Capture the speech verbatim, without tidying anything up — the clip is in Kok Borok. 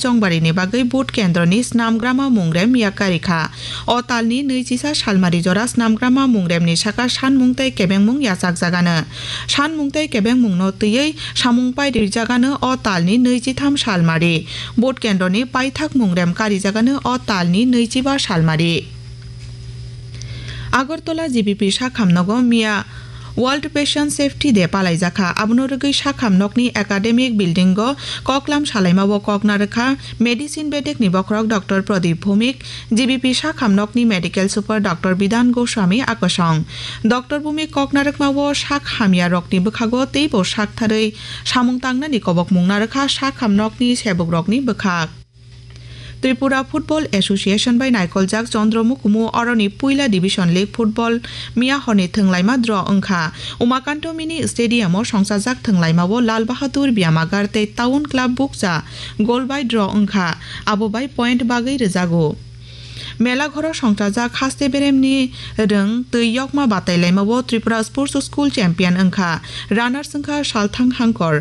Chongbarini bagwi vote kendroni snamgrama mungrem yakarikha. O talni nwichisa salmari jora snamgrama mungremni saka sanmung tei kebengmung yachakjagano. Sanmung tei kebengmungno twiwi samung pairijagano o talni nwichitham salmari. Vote kendroni paithak mungrem karijagano o talni nwichiba salmari. Agartala G B P sakham nogo miya World Patient Safety Day palaijakha. Abono rwgwi sakham nokni academic building o koklam salaimao kok narwkha medicine bedekni bokhorok Doctor Pradip Bhumik, G B P sakham nokni medical super Doctor Bidhan Goswami akosong. Doctor Bhumik kok narwkmao sak hamya rokni bwkhago teibo sak tharwi samung tangnani kobokmung narwkha sakham nokni sebukrokni bwkhak. Tripura Football Association bai naikoljak Chandra Mukumu oroni puila Division League Football miya horni thwnglaima draw wngkha. Umakanto Mini Stadium o songchajak thwnglaimao Lal Bahadur Byamagar tei Town Club Bukcha goal bai draw wngkha, abo bai point bagwi rwjago. Mela ghoro songchajak haste beremni rwng twi yokma batailaimao Tripura Sports School champion wngkha. Runners wngkha Salthang Hangkor.